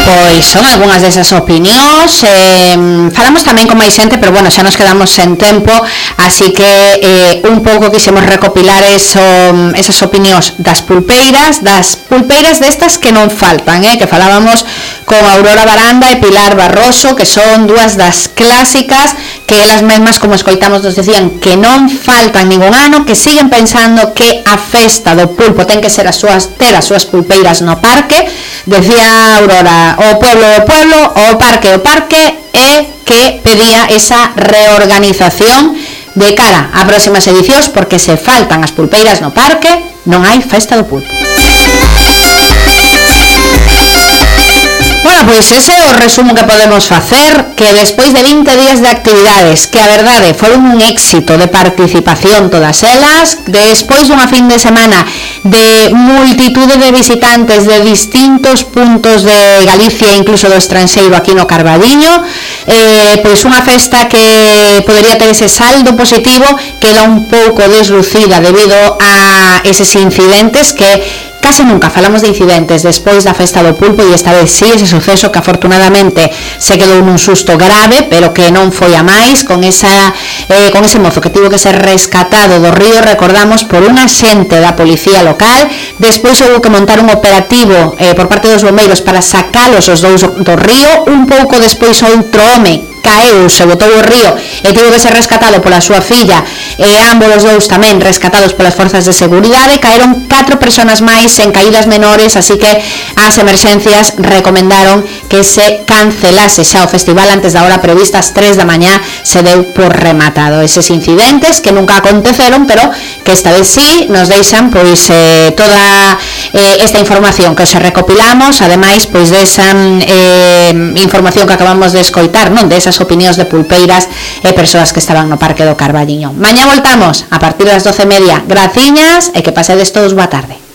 Pois son algunhas desas opinións. Falamos tamén con máis xente, pero bueno, xa nos quedamos sen tempo, así que un pouco quixemos recopilar esas opinións das pulpeiras destas que non faltan, que falábamos con Aurora Baranda e Pilar Barroso, que son dúas das clásicas que elas mesmas, como escoitamos, nos decían que non faltan ningún ano, que siguen pensando que a festa do pulpo ten que ser ter as súas pulpeiras no parque. Decía Aurora, o pueblo, o parque, e que pedía esa reorganización de cara a próximas edicións, porque se faltan as pulpeiras no parque, non hai festa do pulpo. Bueno, pois ese é o resumo que podemos facer, que despois de 20 días de actividades, que a verdade foron un éxito de participación todas elas, despois dunha fin de semana de multitude de visitantes de distintos puntos de Galicia e incluso do estranxeiro aquí no Carbadiño, pois unha festa que podería ter ese saldo positivo, queda un pouco deslucida debido a eses incidentes que case nunca falamos de incidentes despois da festa do pulpo, e esta vez sí, ese suceso que afortunadamente se quedou nun susto grave, pero que non foi a máis, con ese mozo que tivo que ser rescatado do río, recordamos, por un axente da policía local. Despois houve que montar un operativo por parte dos bombeiros para sacalos os dous do río. Un pouco despois outro home caeu, se botou o río e tivo que ser rescatado pola súa filla, e ambos os dous tamén rescatados polas forzas de seguridade. Caeron 4 persoas máis en caídas menores, así que as emerxencias recomendaron que se cancelase xa o festival antes da hora prevista, ás 3 da mañá. Se deu por rematado eses incidentes que nunca aconteceron, pero que esta vez sí nos deixan pois toda esta información que os recopilamos, ademais pois desa información que acabamos de escoitar, non, desas opinións de pulpeiras e persoas que estaban no Parque do Carbadiño. Mañá voltamos a partir das 12:30. Graciñas e que pasedes todos boa tarde.